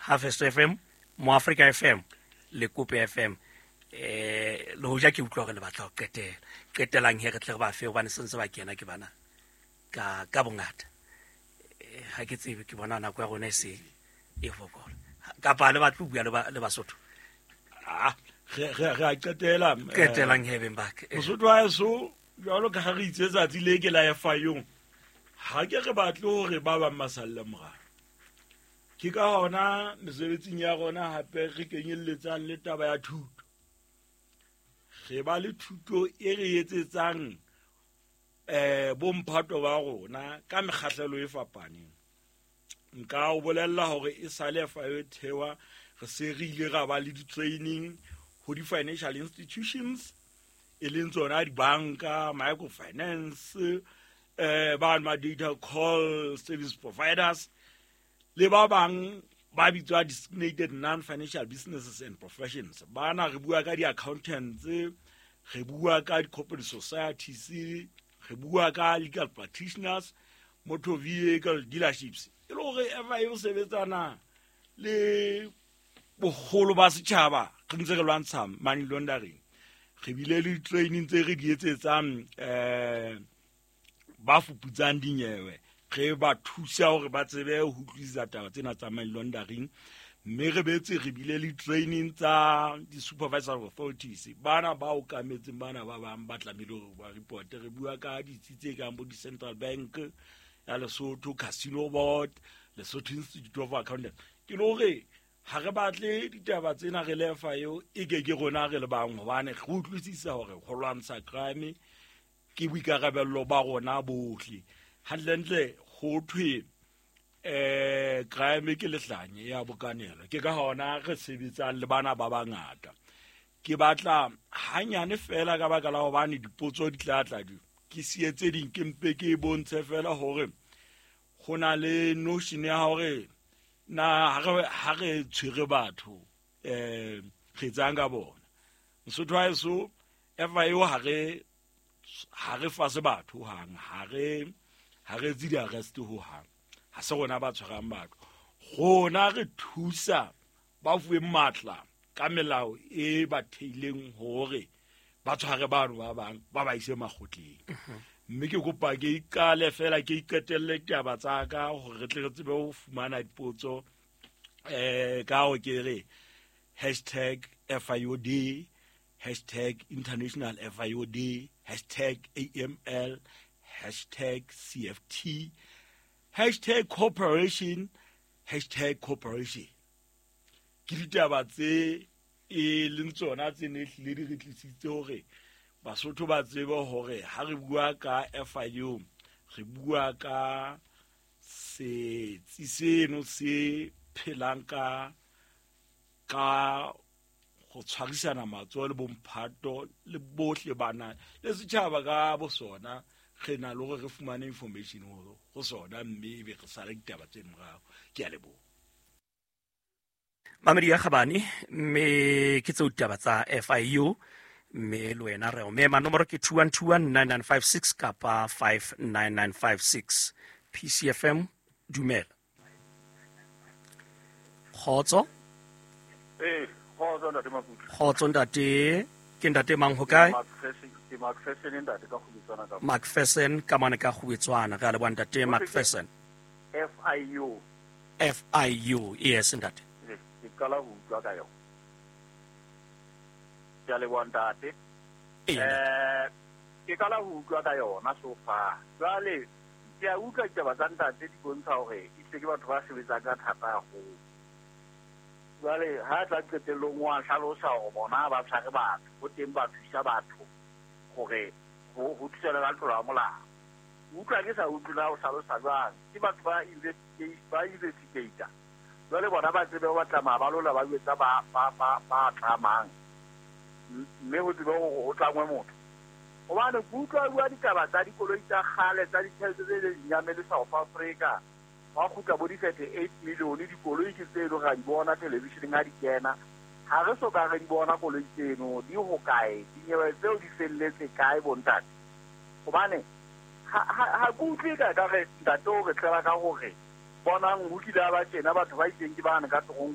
Harvest FM, Moafrika FM le Kope FM. Le hoja ke utlwa hore le batla ho qetela. Qetelang he re tle re ba fe hobane sentse ba kena ke bana ka bongata. Ha ke tsebe, ke bona nako ya rona e se e fokola. Kapa le batle ho bua le Basotho. Re a qetela. Qetelang he beng ba ka. Mosotho wa heso, jwalo ka ha re itse tsatsi le ke la FIU, ha ke re batle hore ba bang ba salle morao. Ke ka hona mesebetsing ya rona hape re kenyelletsang le taba ya thuto. Re ba le thuto e re etsetsang bomphato ba rona ka mekgahlelo e fapaneng. Nka o bolella hore e sale FIU e thewa, re se re ile ra ba le di-training ho di-financial institutions, e leng tsona dibanka, microfinance, ba ma data call service providers, le ba bang ba bitswa designated non-financial businesses and professions. Bana re bua ka di-accountants, re bua ka di-corporate societies, re bua ka legal practitioners, motor vehicle dealerships. E le hore FIU e sebetsana le boholo ba setjhaba, re ntse re lwantsha money laundering. Re bile le training tse re di etsetsang ba fuputsang dinyewe, re ba thusa hore ba tsebe ho utlwisisa taba tsena tsa money laundering. Mme re betse re bile le training tsa di-supervisory authorities, bana ba okametseng bana ba bang ba tlamehile hore ba report. Re bua ka ditsi tse kang bo di-Central Bank ya Lesotho, Casino Board, Lesotho Institute of Accountants. Ke le hore ha re batle ditaba tsena re le FIU e ke ke rona re le bang, hobane re utlwisisa hore ho lwantsha crime ke boikarabello ba rona bohle. Hantlentle ho thwe crime ke lehlanye ya bokanelo. Ke ka hona re sebetsang le bana ba bangata. Ke batla hanyane fela ka baka la hobane dipotso di tla tla di ke siye tse ding, ke mpe ke bontshe fela hore ho na le notion ya hore na ha re tshwere batho re etsang ka bona. Mosotho wa heso, FIU ha re fase batho hang, ha re etse di-arrest ho hang. Ha se rona ba tshwarang batho. Rona re thusa ba fuweng matla ka melao e ba theileng hore ba tshware bano ba bang ba ba ise makgotleng. Mme ke kopa ke iqale fela, ke iqetelle ditaba tsa ka hore re tle re tsebe ho fumana dipotso, ka ho ke re hashtag FIUD, hashtag International FIUD, hashtag AML, hashtag CFT, hashtag cooperation, hashtag cooperation. Ke ditaba tse e leng tsona tse ne hlile di re tlisitse hore Basotho ba tsebe hore ha re bua ka FIU, re bua ka setsi seno se phelang ka ho tshwarisana matsoho le bomphato le bohle bana le setjhaba ka bo sona. Re na le hore re fumane information ho sona, mme ebe re sala ditaba tse morao. Ke a leboha. Mamedi ya kgabane, mme ke tseo ditaba tsa FIU, mme le wena re o mema. Nomoro ke 21219956 kapa 59956. PCFM, dumela. Kgotso. Kgotso ntate Maputo. Kgotso ntate, ke ntate mang ho kae? Ke Macpherson ntate ka Kgubetswana ka. Macpherson ka mane ka Kgubetswana. Re a leboha ntate Macpherson. FIU. FIU, yes ntate. Ke qala ho utlwa ka yona. Ke a leboha ntate. Ke qala ho utlwa ka yona so far. Jwale ke a utlwa ditaba tsa ntate di bontsha hore ehlile ke batho ba sebetsang ka thata haholo. Jwale ha tla qetellong wa hlalosa hore bona ba tshware batho, ho teng ba thusa batho hore ho thusana ka tlolo ya molao. Utlwa ke sa utlwe na o hlalosa jwang. Ke batho ba investigate, ba investigator. Jwale bona ba tsebe ba tsamaya ba lola ba jwetsa ba tlamang. Mme ho tsebe hore ho tlangwe motho. Hobane ke utlwa bua ditaba tsa dikoloi tsa kgale tsa ditjhelete tse leng nyamele South Africa. Ba kgutla bo di-38 million dikoloi ke tse leng ra di bona television-eng ha di kena. Ha re so ka re di bona koloi tseno di hokae, dinyewe tseo di felletse kae bontate. Hobane ha ke utlwe ka re ntate o re tlela ka hore bonang ho kile ba tjena batho ba itseng ke bane ka torong.